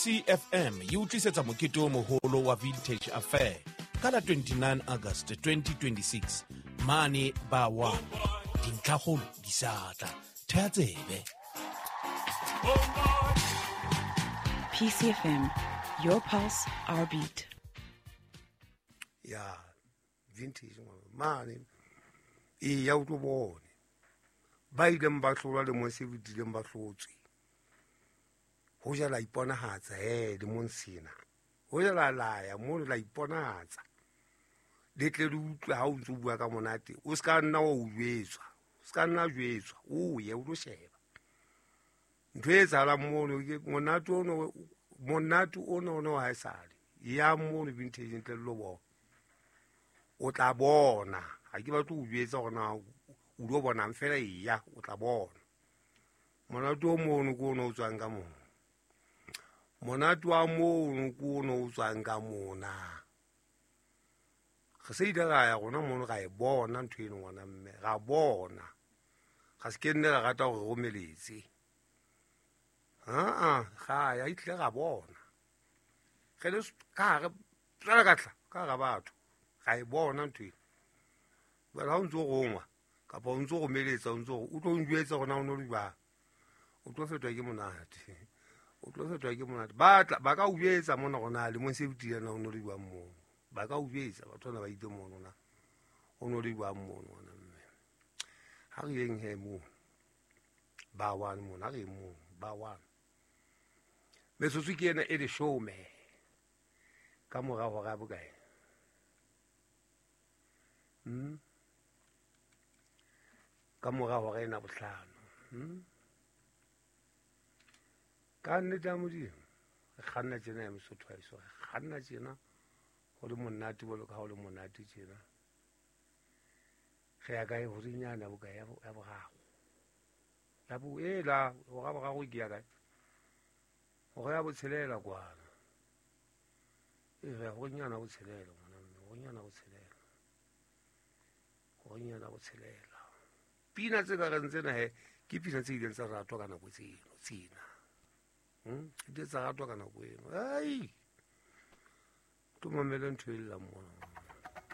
CFM e o tlisetsa mokete o moholo wa Vintage Affair ka la 29 August 2026 mane ba wa dintlhakgolo di sa tla thea tsebe. PCFM, your pulse, our beat. Ya vintage mane e ya o tlo bone ba ileng ba hlolwa lemong se fetileng ba hlotswe. Ho ja la iponahatsa lemong sena. Ho ja la laya mono la iponahatsa. Le tle le utlwe ha o ntso bua ka monate, o ska nna wa o jwetswa. O ska nna jwetswa, o ye o lo sheba. Ntho e etsahalang mono ke monate ono, monate ono ono ha esale. Ya mono vintage ntle le lo bona. O tla bona. Ha ke batle ho jwetsa hore na o lo bonang fela, eya o tla bona. Monate o mono ke ono o tswang ka mona. Monate wa mono ke ono o tswang ka mona. Re se ile ra ya rona mono ra e bona ntho eno ngwana mme, ra bona. Ga se ke nne ra rata hore romeletse. Ha ga ya itle ra bona. Re le ka re tswela ka tla ka ra batho. Ra e bona ntho eno. Jwale ha o ntso rongwa kapa o ntso romeletsa, o ntso o tlo njwetsa hore na o no le jwang. O tlo fetwa ke monate. O tlo fetwa ke monate. Ba tla ba ka o jwetsa mona hore na lemong se fetileng na o no le jwang mono. Ba ka o jwetsa batho bana ba itse mono na o no le jwang mono ngwana mme. Ha re yeng he mono. Ba one mono, ha re yeng mono, ba one. Metsotso ke ena e leshome ka mora hora ya bokae? Ka mora hora ena bohlano. Ka nnete ya Modimo, re kganna tjena ya Mosotho wa heso, re kganna tjena ho le monate jwalo ka ha ho le monate tjena. Re ya kae? Horeng yane ya bokae? Ya boraro. Ya bo, e la, hora boraro ke ya kae? Hora ya botshelela kwana. E re ya horeng yana botshelela, ngwana mme, horeng yana botshelela. Horeng yana botshelela. Pina tse ka reng tsena he, ke pina tse ileng tsa ratwa ka nako tseno, tsena. Di tsa ratwa ka nako eno. Ai! Tlo mamele ntho e llang mona.